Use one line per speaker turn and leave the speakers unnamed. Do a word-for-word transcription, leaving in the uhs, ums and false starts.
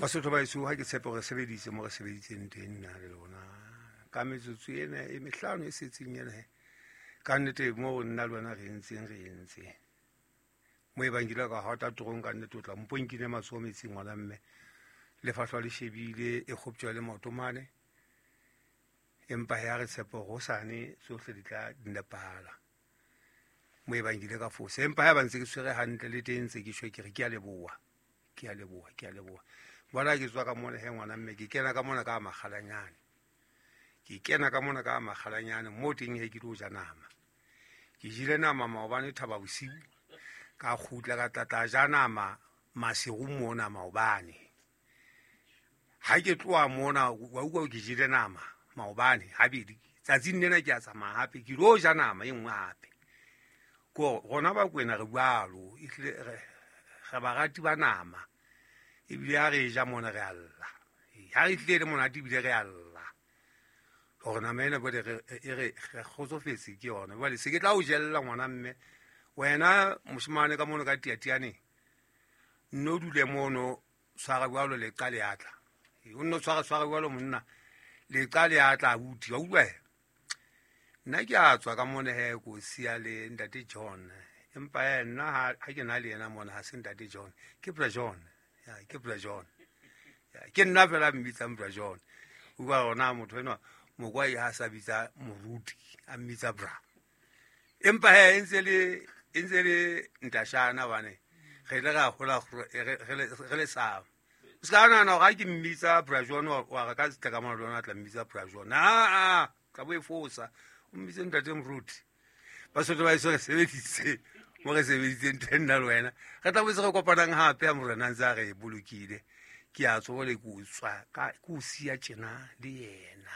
Basotho ba heso, ha ke tshepe hore sebeditse mo re sebeditseng teng nna le lona ka metsotso ena e mehlano e setseng ena. Ka nnete mo nna le wena re entseng re entse mo e bang ke ile ka hota torong, ka nnete o tla mpo nkine matsoho metsing ngwana mme lefahlwa le shebile e kgoptjwa le maoto mane. Empa he a re tshepe hore hosane tsohle di tla nepahala mo e bang ke ile ka fosa. Empa ha ba ntse ke tshwere hantle le teng ntse ke tjho ke re ke a leboha, ke a leboha, ke a leboha. Bona ke tswa ka mona he ngwana mme ke kena ka mona ka makgalanyane, ke kena ka mona ka makgalanyane mo teng he ke tlo ja nama. Ke jele nama maobane thaba bosiu, ka kgutla ka tlatla ja nama masiu mona maobane. Ha ke tloha mona wa utlwa ke jele nama maobane habedi, tsatsing lena ke a tsamaya hape ke lo ja nama e nngwe hape. Ko rona ba Kwena re jwalo, ehlile re re barati ba nama, ebile ha re ja mona re a lla. Ha re tlile le monate ebile re a lla hore nama ena jwale re e re re kgotsofetse ke yona. Jwale se ke tla o jella ngwana mme wena moshemane ka mono ka tiatianeng, nno dule mono tshwara jwalo leqa le atla. O nno tshwara tshwara jwalo monna leqa le atla abuti, wa utlwa he? Nna ke a tswa ka mona he ko siya le ntate John, empa he nna ha ha ke na le yena mona ha se ntate John, ke Bra John. Ya ke Bra John. Ya ke nna fela mmitsang Bra John. Utlwa hore na motho enwa mokwai ha sa bitsa moruti a mmitsa bra. Empa he e ntse le e ntse le ntashana bane re ile ra hola re re le sa. O ska nahana hore ha ke mmitsa Bra John wa re ka tla ka mona le wena tla mmitsa Bra John. Ah ah, tla bo e fosa. O mmitse ntate moruti. Basotho ba heso re sebeditse mo re sebeditseng teng nna le wena. Re tla boetse re kopanang hape ha morena ntse a re bolokile. Ke a tswa le ke o tswa ka ke o siya tjena le yena.